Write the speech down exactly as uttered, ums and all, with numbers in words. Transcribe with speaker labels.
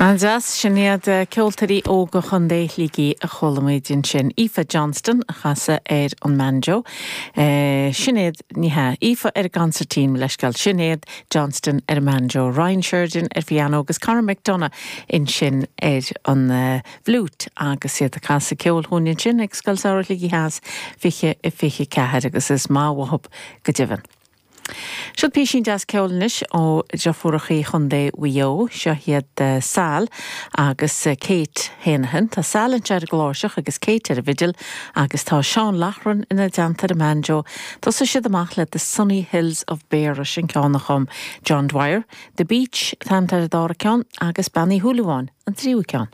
Speaker 1: An-deas sin iad ceoltóirí óga Chontae Shligigh a chuala muid ansin. Aoife Johnston a chas ar an mbanjo. Sinéad ní hea Aoife ar an gconsairtín leisceáil Sinéad Johnston ar an mbanjo, Ryan Sheridan ar piano agus Conor McDonough ansin ar an uh, bhfliúit agus iad ag casadh ceoil dúinn ansin ag Scoil Samhraidh Shligigh Theas fiche i fiche ceathair agus is maith uathu go deimhin. Seo píosín deas ceoil anois ó deirfiúrachaí Chontae Mhaigh Eo seo iad uh, Sal agus uh, Kate Heneghan Tá Sal ar an gcláirseach agus Kate ar an bhfidil agus tá Seán Lachran ina dteannta ar an mbanjo. Thosaigh siad amach le the Sunny Hills of Beara sin ceann a chum John Dwyer, The Beach an dara ceann agus Bean Uí Shúilleabháin an tríú ceann.